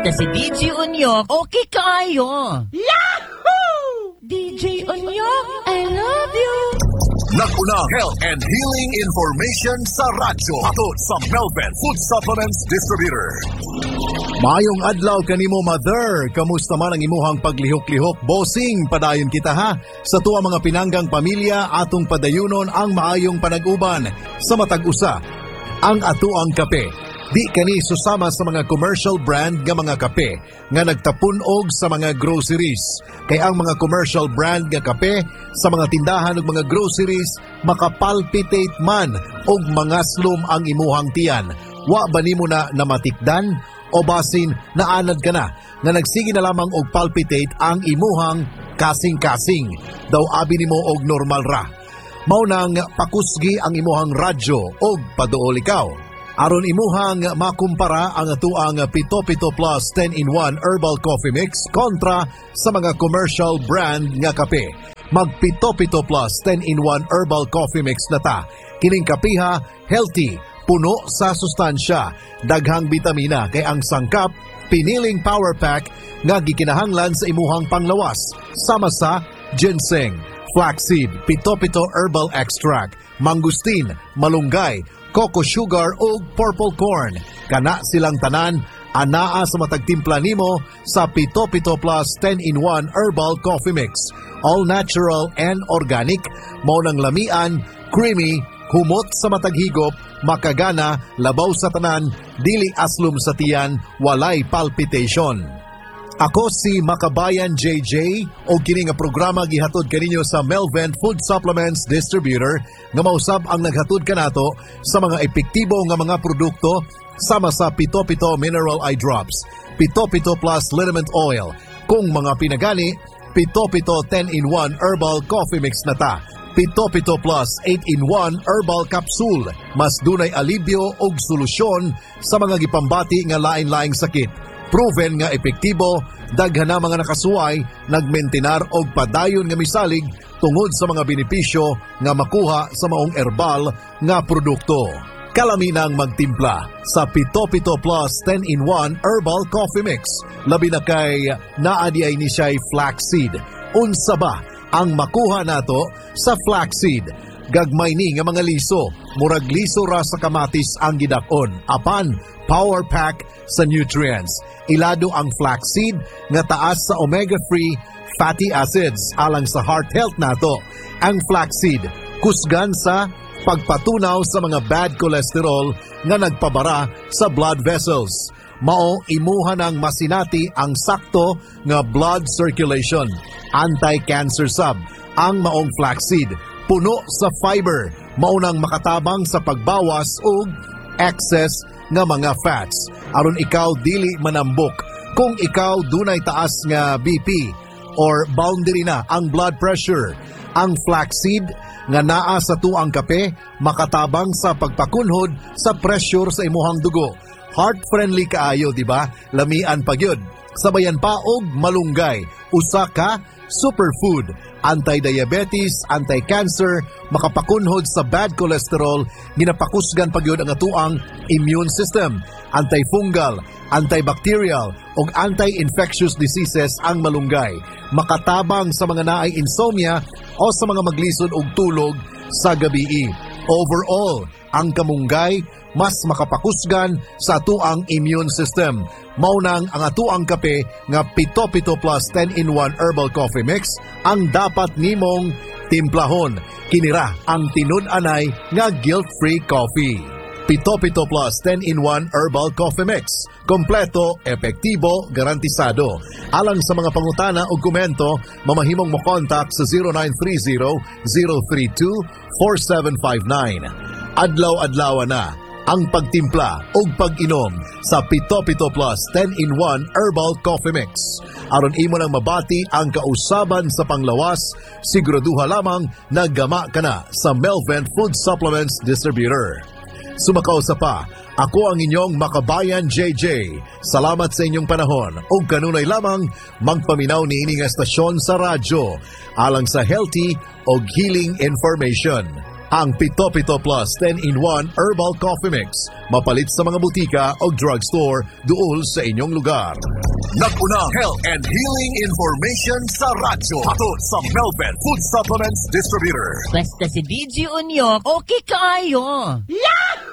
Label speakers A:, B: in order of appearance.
A: Na si DJ Unyok, okay kaayo. Yahoo! DJ Unyok, I love you.
B: Nag-una health and healing information sa radyo. Hatod sa Melvin Food Supplements Distributor.
C: Maayong adlaw kanimo, mother. Kamusta man ang imuhang paglihok-lihok? Bossing, padayon kita ha. Sa tuwa mga pinanggang pamilya, atong padayunon ang maayong panag-uban sa matag usa. Ang atuang kape. Di kani susama sa mga commercial brand nga mga kape nga nagtapunog sa mga groceries. Kay ang mga commercial brand nga kape sa mga tindahan ug mga groceries makapalpitate man og mga slum ang imuhang tiyan. Wa ba nimo na namatikdan o basin naanad ka na nga nagsige na lamang og palpitate ang imuhang kasing-kasing? Daw abi nimo og normal ra. Mao nang pakusgi ang imuhang radyo og paduol ikaw. Aron imuhang makumpara ang atuang Pito Pito Plus 10-in-1 Herbal Coffee Mix kontra sa mga commercial brand nga kape. Mag Pito Pito Plus 10-in-1 Herbal Coffee Mix na ta. Kining kapiha, healthy, puno sa sustansya, daghang bitamina kay ang sangkap piniling power pack nga gikinahanglan sa imuhang panglawas sama sa ginseng, flaxseed, pito-pito herbal extract, mangosteen, malunggay, coco sugar ug purple corn. Kana silang tanan anaa sa matag timpla nimo sa Pito Pito Plus 10-in-1 Herbal Coffee Mix. All natural and organic, mao nang lamian, creamy, humot sa matag higop, makagana, labaw sa tanan, dili aslum sa tiyan, walay palpitation. Ako si Makabayan JJ o kini nga programa gihatod kaninyo sa Melvent Food Supplements Distributor nga mausab ang naghatod kanato sa mga epektibo nga mga produkto sama sa Pito Pito Mineral Eye Drops, Pito Pito Plus Liniment Oil, kung mga pinagani, Pito Pito 10-in-1 Herbal Coffee Mix na ta. Pito Pito Plus 8-in-1 Herbal Capsule, mas dunay alibyo og solusyon sa mga gipambati nga lain-laing sakit. Proven nga epektibo, daghan na mga nakasuway, nagmentinar og padayon nga misalig tungod sa mga benepisyo nga makuha sa maong herbal nga produkto. Kalaminang magtimpla sa Pito Pito Plus 10-in-1 Herbal Coffee Mix. Labi na kay naa di ay ni siya'y flaxseed. Unsa ba ang makuha nato sa flaxseed? Gagmay ni nga mga liso, murag liso ra sa kamatis ang gidakon. Apan, power pack sa nutrients. Ilado ang flaxseed nga taas sa omega-3 fatty acids alang sa heart health nato. Ang flaxseed kusgan sa pagpatunaw sa mga bad cholesterol nga nagpabara sa blood vessels. Mao imuha ng masinati ang sakto nga blood circulation. Anti-cancer sab ang maong flaxseed. Puno sa fiber, maunang makatabang sa pagbawas og excess nga mga fats. Aron ikaw dili manambok. Kung ikaw dunay taas nga BP or boundary na ang blood pressure, ang flaxseed nga naa sa tuang kape makatabang sa pagpakunhod sa pressure sa imuhang dugo. Heart friendly kaayo, di ba? Lamian pagyud. Sabayan pa og malunggay, usa ka superfood, anti-diabetes, anti-cancer, makapakunhod sa bad cholesterol, ginapakusgan pagyud ang atuang immune system, antifungal, antibacterial ug anti-infectious diseases ang malunggay. Makatabang sa mga naay insomnia o sa mga maglisod og tulog sa gabii. Overall, ang kamunggay mas makapakusgan sa atuang immune system. Maunang ang atuang kape nga Pito Pito Plus 10-in-1 Herbal Coffee Mix ang dapat nimong timplahon. Kinira ang tinud-anay nga guilt-free coffee. Pito Pito Plus 10-in-1 Herbal Coffee Mix. Kompleto, epektibo, garantisado. Alang sa mga pangutana o komento, mamahimong mo contact sa 0930-032-4759. Adlaw-adlaw na ang pagtimpla ug pag-inom sa Pito Pito Plus 10-in-1 Herbal Coffee Mix. Aron imo nang mabati ang kausaban sa panglawas, siguraduha lamang naggama ka na sa Melvent Food Supplements Distributor. Sumakaw sa pa, ako ang inyong Makabayan JJ. Salamat sa inyong panahon ug kanunay lamang magpaminaw niini nga estasyon sa radyo alang sa healthy og healing information. Ang Pito Pito Plus 10-in-1 Herbal Coffee Mix. Mapalit sa mga butika o drugstore duol sa inyong lugar.
B: Nag-unang health and healing information sa radyo. Hatod sa Melvin Food Supplements Distributor.
A: Basta si DJ Onyok, okay kaayo. Yahoo!